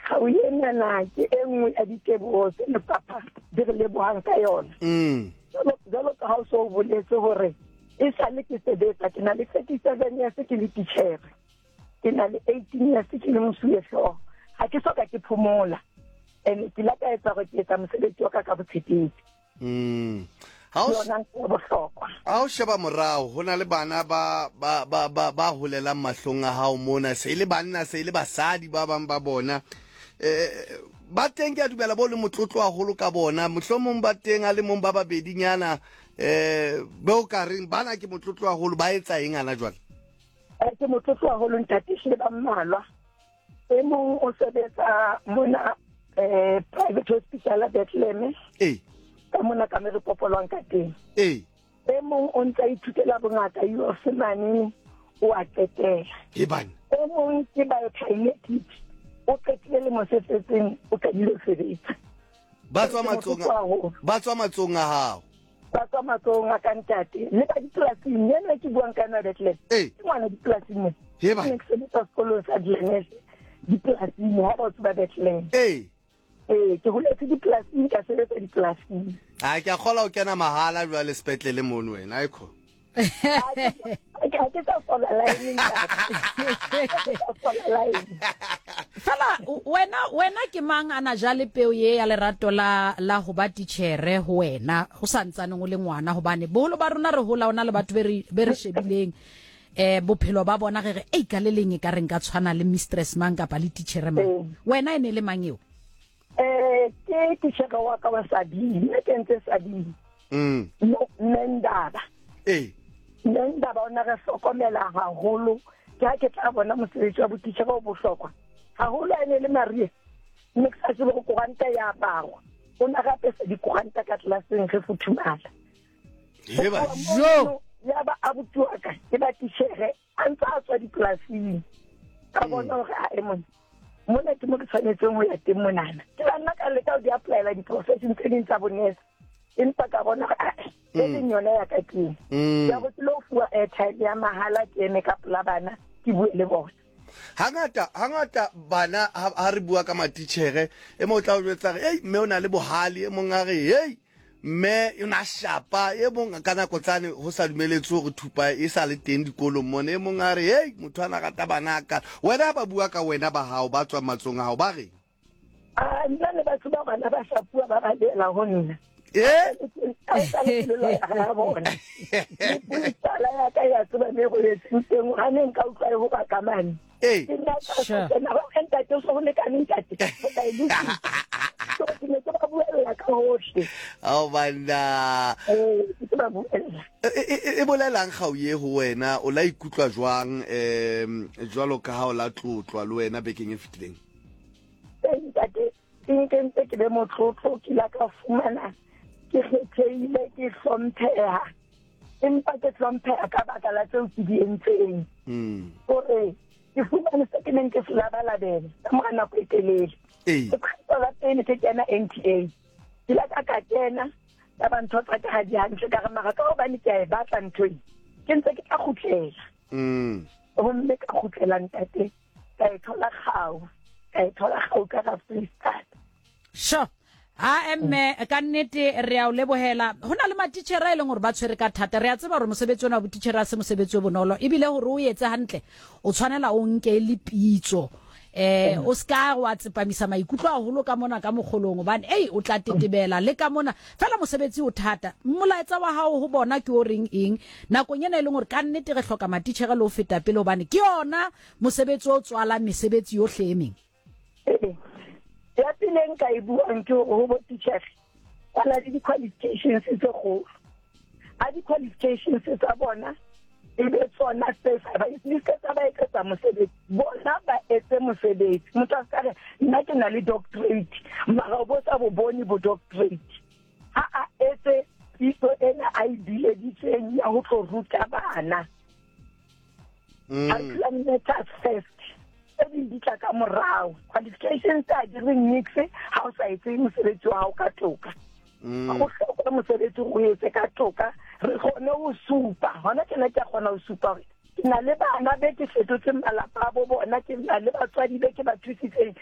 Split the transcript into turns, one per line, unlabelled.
Kgau enana ke e nngwe ya diteboho tse lefapha di re lebohang ka yona. Jwalo ka ha o so o boletse hore e sale ke sebetsa, ke na le 37 years ke le titjhere. Ke na le 18 years ke le mosuwehlooho. Ha ke soka ke phomola. And ke la ka etsa hore ke etsa mosebetsi wa ka ka botshepehi.
Ha o
Yona ntho ya bohlokwa.
Ha o sheba morao, ho na le bana ba ba ba ba ba holelang mahlong a hao mona, se e le banna, se e le basadi ba bang ba bona. Eh, ba teng ke a dumela bo le motlotlo haholo ka bona. Mohlomong ba teng a le mong ba babedinyana eh be o ka reng bana ke motlotlo haholo ba etsa eng ana jwale?
Eh, ke motlotlo haholo ntate, ehlile ba mmalwa. E mong o sebetsa mona eh private hospital ya Bethlehem.
Ee.
Ka mona ka me re popolwang ka teng.
Ee.
E mong o ntse a ithutela bongaka UF mane o a qetela.
E bana.
E mong ke biokinetic o qetile lemo se setseng o qadile ho sebetsa.
Ba tswa matsong ba tswa matsong a hao.
Ba tswa matsohong a ka ntate le ba dipolasing ena ke buang ka yona Bethlehem.
Ee.
Ke ngwana dipolasing mo.
He ba.
Ke sebetsa sekolong sa Glenes dipolasing ha ba tswa Bethlehem.
Ee.
Ee, ke holetse dipolasing ka sebetsa dipolasing.
A ke a kgola o kena mahala jwale sepetlele mono wena aekho.
Ha ke sa fola line ntate. Ha ke sa fola line.
Fela wena wena ke mang a na jale peo ye ya lerato la la ho ba titjhere ho wena ho sa ntsaneng o le ngwana hobane boholo ba rona re hola ona le batho be re be re shebileng eh bophelo ba bona re re ei ka le leng e ka re nka tshwana le mistress mang kapa le titjhere mang wena e ne le mang eo?
Eh ke titjhere wa ka wa Sabine, nna ke ntse Sabine. Mme Ndaba.
Ee.
Mme Ndaba o ne re hlokomela haholo. Ke ha ke tla bona mosebetsi wa botitjhere o bohlokwa. Haholo a ne le Maria. Mme ke sa tsebe hore koranta ya aparwa. O ne re apesa dikoranta ka tlelaseng re futhumala.
Heba.
Jo.
Ya ba abuti wa ka ke ba titjhere a ntse a tswa dipolasing ka bona hore a e mona mona ke mo ke tshwanetseng ho ya teng monana ke la nna ka leka ho di applyela di-profession tse ding tsa bonese empa ka bona hore ae e leng yona ya ka keng ya go ke lo fuwa airtime ya mahala ke eme ka pola bana ke bue le bona.
Hangata hangata bana ha re bua ka matitjhere e mong o tla o jwetsa re ei mme o na le bohale e mong a re hei Mme o ne a shapa e mong ka nako tsane ho sa dumeletswe hore thupa e sa le teng dikolong mona. E mong a re, hei, motho ana rata bana a ka. Wena ha ba bua ka wena ba hao ba tswang matsong a hao ba reng?
A nna le batho ba bana ba shapuwa ba balehela ho nna.
Eh?
A sa le pelo ya bona. Tsala ya ka ya tseba me go etseng teng ha ne nka utlwa e ho ba ka mane.
Ee.
Ke nna ka
Sure.
tsena ba re, ntate o se ho lekane ntate. O tla e lokisa. So ke ne ke ba buella ka hohle.
Ao banna.
Ee, ke ba buella.
E, e, e, e bolelang kgau ye ho wena o la ikutlwa jwang um jwalo ka ha o la tlotlwa le wena bekeng e fetileng?
Ee, ntate, ke nkentse ke be motlotlo ke la ka fumana ke kgethehile ke hlompheha empa ke hlompheha ka baka la tseo ke di entseng gore ke fumane se ke neng ke se labalabela ka mora nako e telele.
Ee.
Ke kgetlo la pele ke kena NTA ke la ka ka kena ya ba ntho tsa ka ha di hantle ka re mara ka hobane ke a e batla ntho e ke ntse ke tla kgutlela gomme ka kgutlela ntate ka e thola kgau ka e thola kgau ka ga Freestata.
Sure. Ha emme ka nnete re a o lebohela. Ho na le matitjhere a e leng hore ba tshwere ka thata. Re a tseba hore mosebetsi ona wa botitjhere ha se mosebetsi o bonolo. Ebile hore o etse hantle o tshwanela o nke e le pitso. Eh o ska wa tsepamisa maikutlo haholo ka mona ka mokgolong hobane ei o tla tetebela le ka mona. Fela mosebetsi o thata. Molaetsa wa hao ho bona ke o reng eng nakong ena e leng hore ka nnete re hloka matitjhere le ho feta pele hobane ke yona mosebetsi o tswalang mesebetsi yohle e meng.
Ee. Ya pele e nka e buang ke hore ho bo titjhere ba na le di-qualifications tse kgolo. A di-qualifications tsa bona e be tsona tse sa ba di se tsa ba etsetsa mosebetsi, bona ba etse mosebetsi. Motho a ska re nna ke na le doctorate mara o bo sa bo bone bo doctorate. Ha a etse pitso ena a e bileditseng ya ho tlo ruta bana. Curriculum matters first. Tse ding di tla ka morao. Qualifications tsa di re nix ha o sa etse mosebetsi wa hao ka toka. Go hlokwa mosebetsi o etse ka toka re kgone ho supa. Hona tjena ke a kgona ho supa hore ke na le bana be ke fetotseng malapa a bo bona, ke na le batswadi be ke ba thusitseng.